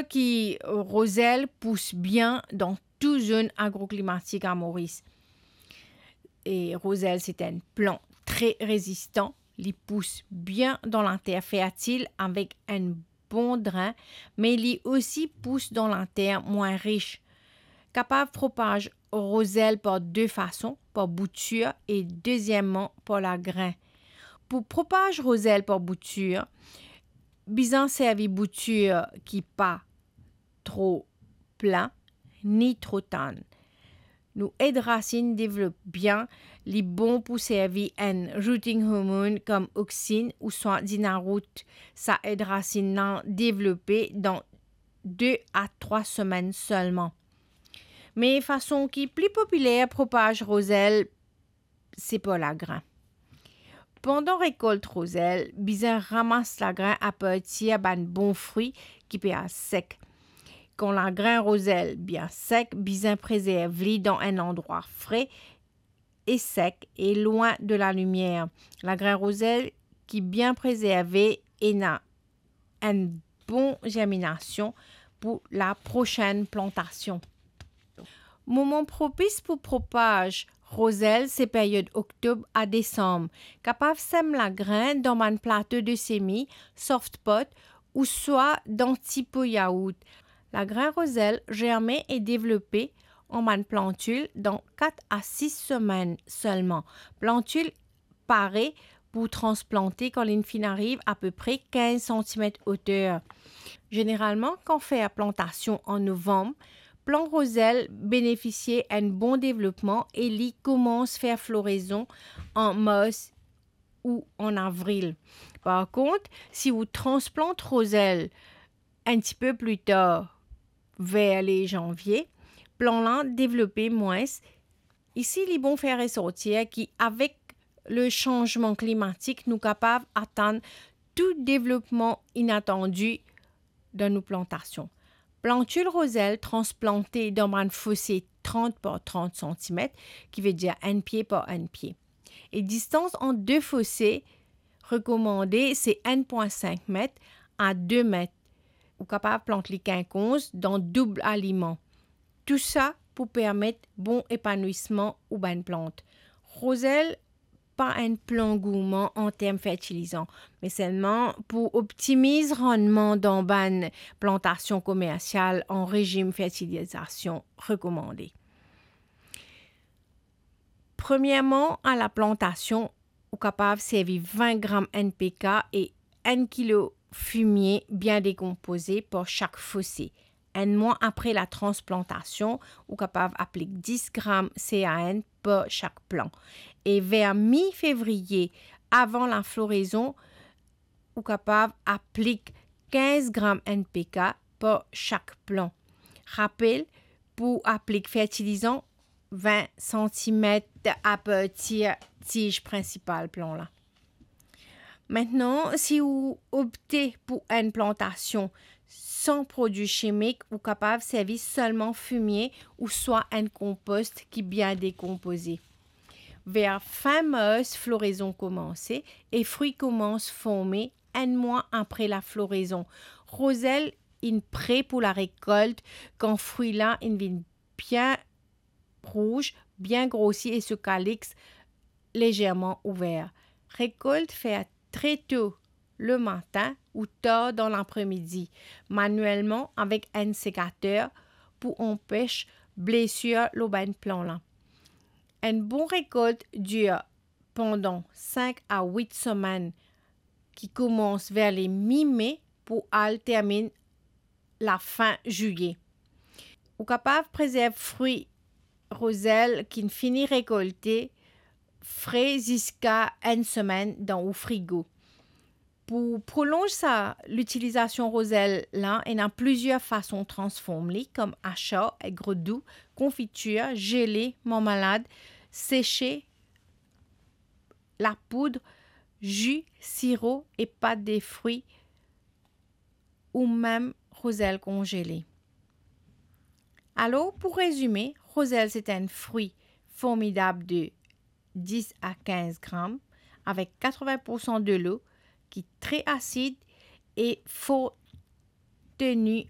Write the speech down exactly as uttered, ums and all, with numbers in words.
ki rozel pous bien dan tou zone agroklimatik a Moris. E rozel se enn plant tre rezistan. Li pous bien dan later fertil avek enn bon dren, me li osi pous dan later mwin ris. Kapav propaz rozel par de fason, par boutir e dezieman par lagrin. Pou propaz rozel par boutir, bizin servi boutir ki pa tro plin, ni tro tann. Nou ed rasinn devlop bien, li bon pou servi enn rooting hormone kom Oxin ouswa Dinaroot. Sa ed rasinn la devlope dan de a trwa semenn selman. Me fason ki pli popiler propaz rozel, se par lagrin. Pandan rekolt rozel, bizin ramas lagrin apartir bann bon fri ki pe al sek. Kan lagrin rozel bien sek, bizin prezerv li dan enn landrwa fre e sek e lwin de lalimier. Lagrin rozel ki bien prezerve ena enn bon zerminasion pou laprosenn plantasion. Moman propis pou propaz rozel se period oktob a desam. Kapav sem lagrin dan bann plato de semi, soft pot, ouswa dan ti po yaourt. Lagrin rozel zerme e devlope an bann plantil dan kat a sis semenn selman. Plantil pare pou transplante kan linn finn ariv apepre kinz santimet oter. Zeneralman, kan fer plantasion an novanm, plan rozel benefisie enn bon devlopman e li koumans fer florezon an mars ou an avril. Par kont, si ou transplant rozel enn tipe pli tar, ver le zanvie, plan la devlope mwins. Isi, li bon fer resortir ki avek le sanzman klimatik, nou kapav atann tou devlopman inatandi dan nou plantasion. Plantil rozel transplante dan bann fose trant par trant santimet, ki vedir enn pie par enn pie. E distans ant de fose rekomande se enn pwin sink met a de met. Ou kapav plant li kinkonz dan doub aliman. Tousa pou permet bon epanwisman ou bann plant. Rozel pa enn plan gourman an term fertilizan, me selman pou optimiz rannman dan bann plantasion komersial an rezim fertilizasion rekomande. Premierman, a laplantasion, ou kapav servi vin gram N P K e enn kilo fimie bien dekonpoze par sak fose. Enn mwa apre latransplantasion, ou kapav aplik dis gram C A N par sak plan. E ver mi fevriye, avan laflorezon, ou kapav aplik kinz gram N P K par sak plan. Rapel, pou aplik fertilizan, vin santimet apartir tiz prinsipal plan la. Aster, si ou opte pou enn plantasion san prodwi simik, ou kapav servi selman fimie ouswa enn konpost ki bien dekonpoze. Ver fin mars, florezon koumanse e fri koumans forme enn mwa apre laflorezon. Rozel inn pre pou larekolt kan fri la inn vinn bien rouz, bien grosi e so kaliks lezerman ouver. Rekolt fer tre to lematin ou tar dan lapremidi, manielman avek enn sekater pou anpes blesir lor bann plan la. Enn bon rekolt dir pandan sink a wit semenn, ki koumans ver le mi me pou al terminn lafin zilie. Ou kapav prezerv fri rozel ki'nn fini rekolte fre ziska enn semenn dan ou frigo. Pou prolonz sa litilizasion rozel la, ena plizier fason transform li, kom asar, egrodou, konfitir, zele, marmalad, sese, lapoud, zi, siro e pat de fri, ou mem rozel konzele. Alor, pou rezime, rozel se enn fri formidab de dis a kinz gram, avek katrovin poursan delo, ki tre asid e for teni